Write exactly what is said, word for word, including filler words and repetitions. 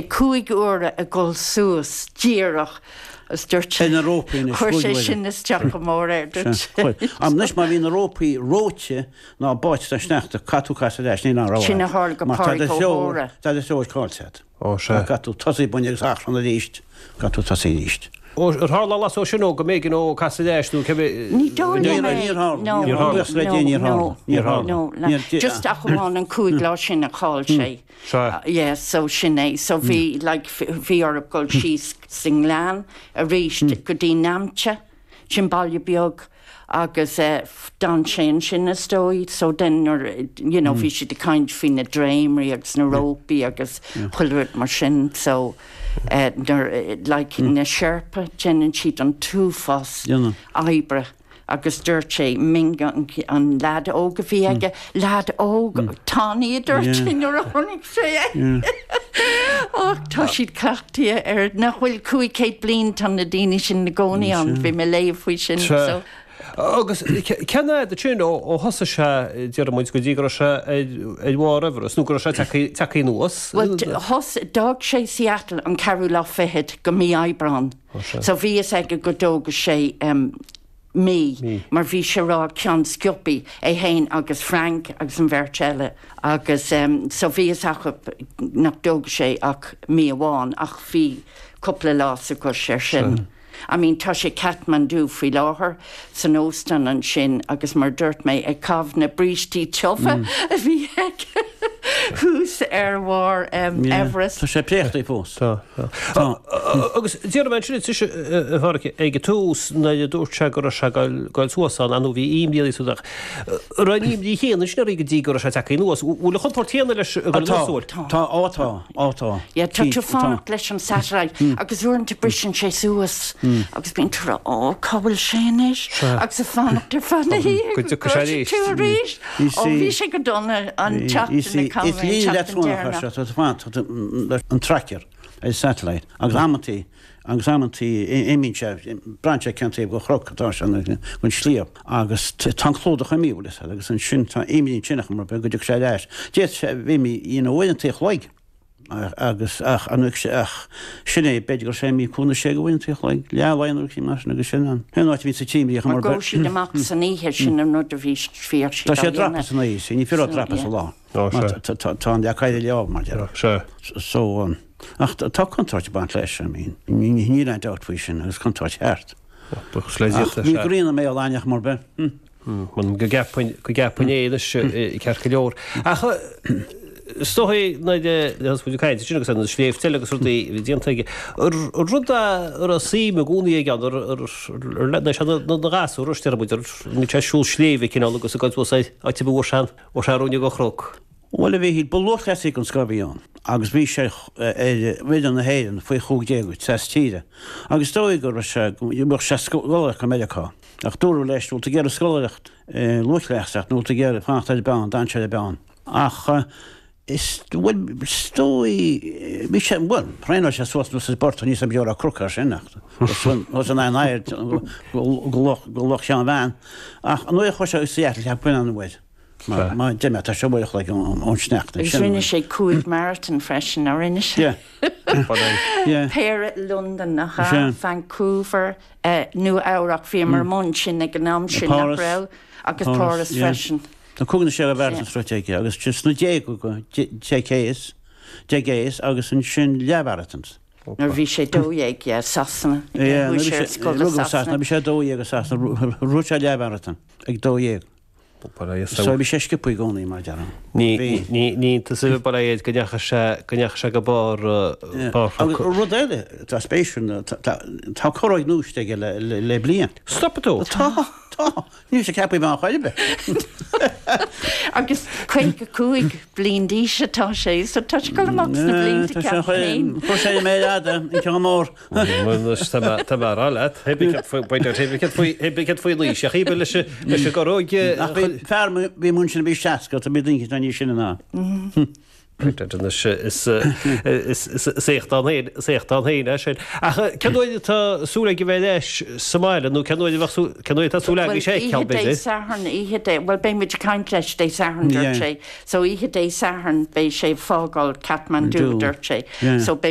cúig uaire ag dul suas díreach agus dúirt sé Ar na rópaí anois, chuir cúig sé uaire. sin isteach go mór air, dúirt sé. Chuir. Anois má bhí na rópaí reoite ná báite sa sneachta, caithfidh tú casadh ar ais, níl aon rogha Sin a agat. tharla go Mar tá Pádraig do Ó threoir, hÓra. tá do threoir caillte agat. Ó, sea. Caithfidh tú tosaí buinne agus achrann arís, caithfidh tú tosaí arís. Ó, ar tharla lá só sin ó go mb'éigean ó casadh ar ais nó cibé. Ní dóigh Níor liom é. níor tharla. No, Níor tharla. Buíochas le Dia, níor no, tharla. Níor tharla. no, no. Níor- Just ach amháin an cúig lá sin a chaill sé. Sea. Uh, yeah, so sin é. So bhí like bhí orthu dul síos sa ngleann arís go dtí Namche, sin baile beag agus uh, d'fhan sé ansin is dóigh, so then nuair, you know, bhí siad ag caint faoi na dréimrí agus na rópaí agus chuile rud mar sin, so uh, nuair, eh, like na Sherpa déanann siad an t-uafás Déanann. oibre agus dúirt sé Minga an, an lad óg a bhí aige, lad óg tanaí a dúirt sé nuair a chonaic sé é. Ach tá siad cleachtaithe ar nach bhfuil cúig céad bliain tá na daoine sin ina gcónaí ann bhí mé léamh faoi sin. Sea. So, Agus cén fhad sin ó ó thosaigh sé deir muid go dtí go raibh sé ar ar bharr Everest nó go raibh sé tagtha anuas. Well, thos d'fhág sé Seattle an ceathrú lá fichead de mhí Aibreán. sea. So bhí fhios aige go dtógadh sé um, mí, Mí. mar bhí sé rá ceann sciobthaí é féin agus Frank agus an bheirt eile agus um, so bhí fhios acu nach dtógadh sé ach mí amháin ach bhí cúpla lá sa gcos ar sin. I mean tá sé Kathmandu faoi láthair san óstán ansin agus mar dúirt mé ag caitheamh na brístí tiubha a bhí aige thuas ar bharr um, Yeah. Everest. Tá sé préachta fós. Tá. Tá. Agus deir mé sin a ag tús na dúirt sé go raibh sé ag dul suas ann nó bhí imní suach. Ra imní chéanna sin go dtí go raibh sé tagtha anuas. Bhfuil an chontúirt chéanna leis go Tá, suas. tá, ó tá, ó tá. Ja, tá tú Tá. fanacht leis an satellite agus uaireanta briseann sé suas agus bíonn tú á cá bhfuil sé anois agus ag fanacht ar feadh na hoíche Go dtiocfaidh sé arís. tú arís. You Ó see- bhí sé go dona an Is tseachtain líne leictreonach tá an tracker ar satellite agus amantaí agus amantaí imíonn sé braitheann sé cén taobh den chnoc atá sé an sliabh agus tá clúdach imithe agus ansin tá imní sinach mar go dtiocfaidh sé ar ais. Dé sé bhí mí uaireanta an chloig agus ach an ach sin é b'fhéidir gur sé mí cúna sé go bhfuin chloig le lein mar sin agus sin an. Hen áit bhí sa tíimrí Mar go siad amach san oíche sin an rud a bhí fíor Tá sé dreapadh san oíche, ní féidir dreapadh sa lá. Ó, sea. Tá an deacair le mar de. Se. So um, ach tá contúirt ag baint leis, I mean, níl aon dabht faoi sin agus contúirt cheart. Ach Ní gríana mé láneach mar be. Man go gceapann go gceapann éis ceart go leor. Ach Stoí na caint sin agus an sléibhte agus rudaí bhí déanta aige. Rud ar a sí me gúnaí ag an na gasúir ní sé siúl sléibhe cineál agus a go a bhú sean ó sé rúne go chnoc. Well a bhí ba lúthchleasaí an scoth a bhí ann, agus bhí sé ar fhoireann na hÉireann faoi chúig déag sa tíre. Agus dóigh go raibh sé bheadh sé scoláireacht go Meiriceá. Ach dúradh leis bhfuil tú ag iarraidh scoláireacht lúthchleasaíocht nó tú ag iarraidh fanacht ar an bean, d'fhan sé ar an bean. Ach is bhfuil dóigh bhí sé bhuel thraenáil sé suas nó sa bport níos an beora cruca sin ach an an air go Loch Sheáin Bhean. Ach an nuair a chuaigh sé Seattle cheap buin an bhfuil. Má de tá se bhuiich le ón sneachta. Agus rinne sé cúig marathon freisin a rinne sé. Yeah. Péire London nach Sea. Vancouver, uh, Nua Eabhrac bhí mar mun sin ag an am sin Páras. nach raibh agus Páras yeah. freisin. Tá cúig sé a bhert srote agus just na dé go cééis, dégéis agus ansin leathmharatons. Nuair bhí sé dó dhéag yeah, Sasana. Sasana, bhí sé dó dhéag agus Sasana rith sé leathmharathon ag dó dhéag. So bhí sé sciobtha i gcónaí mar dear. Ní ní tá ba éad go ndeachaigh sé go ndeachaigh sé go barr Agus rud eile tá spéisiúil tá corróg gnúiste aige le le le bliain. Stop tú. Tá tá ní sé ceapaí má chuibe. Agus caoga cúig bliain d'aois atá sé, so tá sé go amach sna blianta ceapaim. Chu sé mé an ceann mór. Tá mar leat cé faoi leis a chibe leis leis go róg Ach bhí fear bhí mun sin bhí seasca tá bí daoine ní sin ná. Is éacht ann féin é sin. Ach cén uair atá súil aige bheith ar ais sa mbaile nó cén uair cén uair atá súil aige sé Oíche Dé Sathairn oíche Dé well beidh muid ag caint leis Dé Sathairn dúirt sé so oíche Dé Sathairn beidh sé ag fágáil Kathmandu dúirt sé so beidh